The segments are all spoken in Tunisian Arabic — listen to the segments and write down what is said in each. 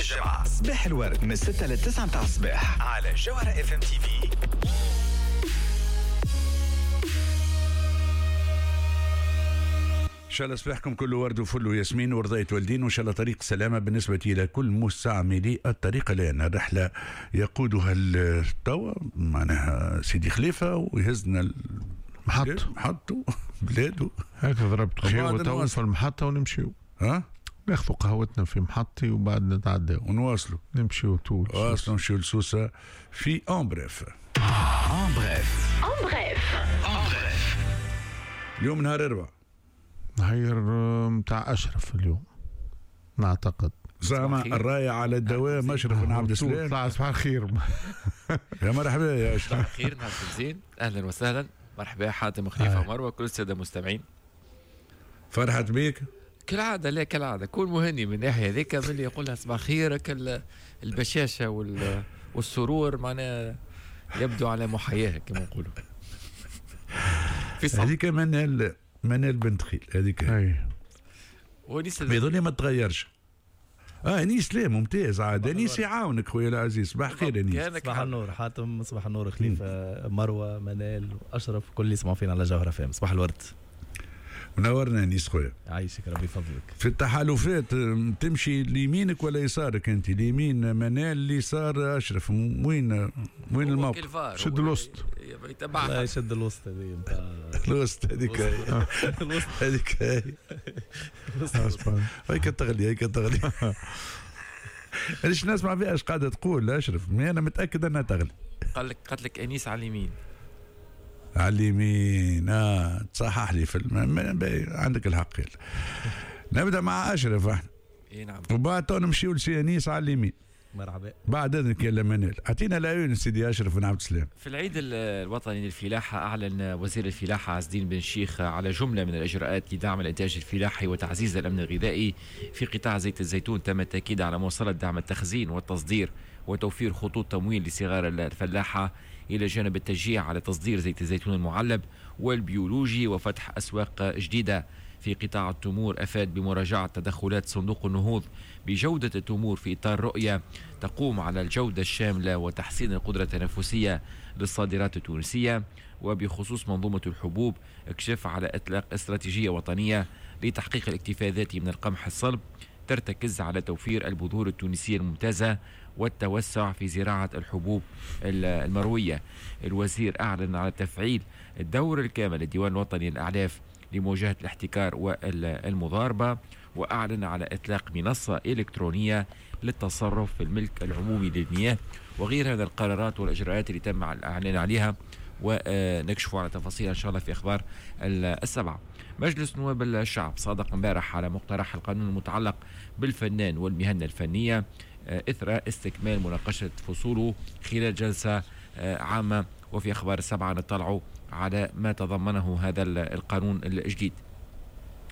الجمعة صباح الورد من 6 ل 9 متاع الصباح على جوهرة FM TV. ان شاء الله صباحكم كله ورد وفل وياسمين ورضاية والدين، وان شاء الله طريق سلامة بالنسبة إلى كل مستعملي الطريق، لأن الرحلة يقودها التوا معناها سيدي خليفة ويهزنا محط محطة بلاده. هكا ضربت خيوة تو في المحطة ونمشيو، ها ناخذوا قهوتنا في محطي وبعد نتعداو ونواصلوا نمشيو طول واصلوا نمشيو لسوسة في en bref. en bref en bref en bref. اليوم نهار أربعاء، نهار نتاع أشرف اليوم نعتقد، زعما الراية على الدوام أشرف بن عبد السلام. طلع صباح الخير. يا مرحبا يا أشرف. صباح الخير، نهاركم زين، أهلا وسهلا، مرحبا حاتم وخليفة ومروة كل السادة المستمعين. فرحت بيك كالعادة. لا كالعادة كون مهني من الناحية هذيك، من اللي يقولها صباح خيرك البشاشة والسرور معناها يبدو على محياها كما نقولوا. هذيك منال بنت خيل هذيك. اي بيظل ما تغيرش. انيس لا ممتاز عاد، انيس يعاونك خويا العزيز. صباح الخير انيس. صباح النور حاتم، صباح النور خليفة، مروه، منال، اشرف، كل اللي يسمعوا فينا على جوهرة FM. صباح الورد. منورنا انيس خويا. عايشك ربي يفضلك. في التحالفات تمشي ليمينك ولا يسارك انت؟ اليمين منال، اليسار اشرف، وين الموقف؟ شد الوسط. لا يشد الوسط هذه نتاع الوسط هذيك هذيك هيك تغلي هيك تغلي. علاش نسمع فيها اش قاعدة تقول اشرف؟ انا متاكد انها تغلي. قال لك قالت لك انيس على اليمين. على اليمين. تصحح لي في عندك الحق. يلا نبدا مع اشرف احنا. اي نعم. وبعد نمشيو لسي انيس على اليمين. مرحبا. بعد اذنك يا منال، اعطينا العيون سيدي اشرف بن عبد السلام. في العيد الوطني للفلاحه اعلن وزير الفلاحة عز الدين بن شيخ على جملة من الاجراءات لدعم الانتاج الفلاحي وتعزيز الامن الغذائي في قطاع زيت الزيتون. تم التاكيد على مواصلة دعم التخزين والتصدير وتوفير خطوط تمويل لصغار الفلاحة، الى جانب التشجيع على تصدير زيت الزيتون المعلب والبيولوجي وفتح اسواق جديدة. في قطاع التمور أفاد بمراجعة تدخلات صندوق النهوض بجودة التمور في إطار رؤية تقوم على الجودة الشاملة وتحسين القدرة التنافسية للصادرات التونسية. وبخصوص منظومة الحبوب اكشف على إطلاق استراتيجية وطنية لتحقيق الاكتفاء الذاتي من القمح الصلب ترتكز على توفير البذور التونسية الممتازة والتوسع في زراعة الحبوب المروية. الوزير أعلن على تفعيل الدور الكامل للديوان الوطني للأعلاف لمواجهة الاحتكار والمضاربة، وأعلن على إطلاق منصة إلكترونية للتصرف في الملك العمومي للمياه وغيرها من القرارات والإجراءات اللي تم الإعلان عليها، ونكشف على تفاصيلها إن شاء الله في أخبار السبعة. مجلس نواب الشعب صادق امبارح على مقترح القانون المتعلق بالفنان والمهنة الفنية إثر استكمال مناقشة فصوله خلال جلسة عامة. وفي أخبار السبعة نطلعوا على ما تضمنه هذا القانون الجديد.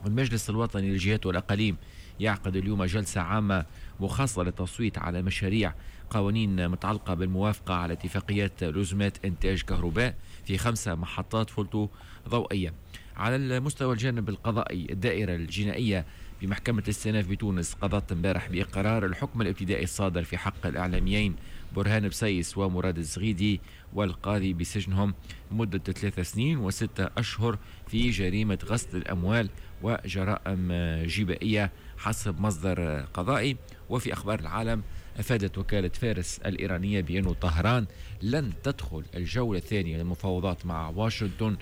المجلس الوطني للجهات والأقاليم يعقد اليوم جلسة عامة مخصصة للتصويت على مشاريع قوانين متعلقة بالموافقة على اتفاقيات لزمات إنتاج كهرباء في 5 محطات فولتو ضوئية. على المستوى الجانب القضائي، الدائرة الجنائية بمحكمة الاستئناف بتونس قضت امبارح بإقرار الحكم الابتدائي الصادر في حق الإعلاميين برهان بسيس ومراد الزغيدي والقاضي بسجنهم مدة 3 سنين و6 أشهر في جريمة غسل الأموال وجرائم جبائية حسب مصدر قضائي. وفي أخبار العالم أفادت وكالة فارس الإيرانية بأن طهران لن تدخل الجولة الثانية للمفاوضات مع واشنطن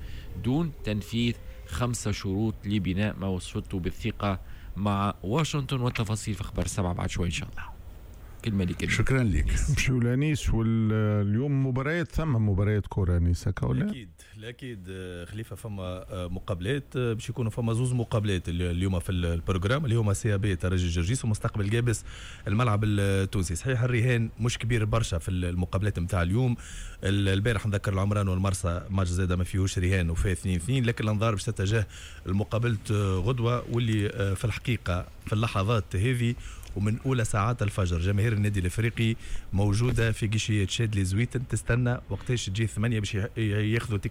دون تنفيذ 5 شروط لبناء ما وصفته بالثقة مع واشنطن. والتفاصيل في أخبار 7 بعد شوي إن شاء الله. كلمة لك. شكرا لك. نمشيو لانيس. واليوم مباريات، ثم مباريات كورة انيس هكا ولا؟ اكيد اكيد خليفة، فما مقابلات باش يكونوا، فما زوز مقابلات اليوم في ال programme اللي هما CAB ترجي جرجيس ومستقبل جابس الملعب التونسي. صحيح الرهان مش كبير برشا في المقابلات نتاع اليوم. البارح نذكر العمران والمرسى ماتش زاده ما فيهوش رهان وفيه 2-2، لكن الانظار باش تتجه لمقابلة غدوه واللي في الحقيقة في اللحظات هذه ومن اولى ساعات الفجر جماهير النادي الافريقي موجودة في guichet شادلي زويتن تستنى وقتاش تجي 8 باش ياخذوا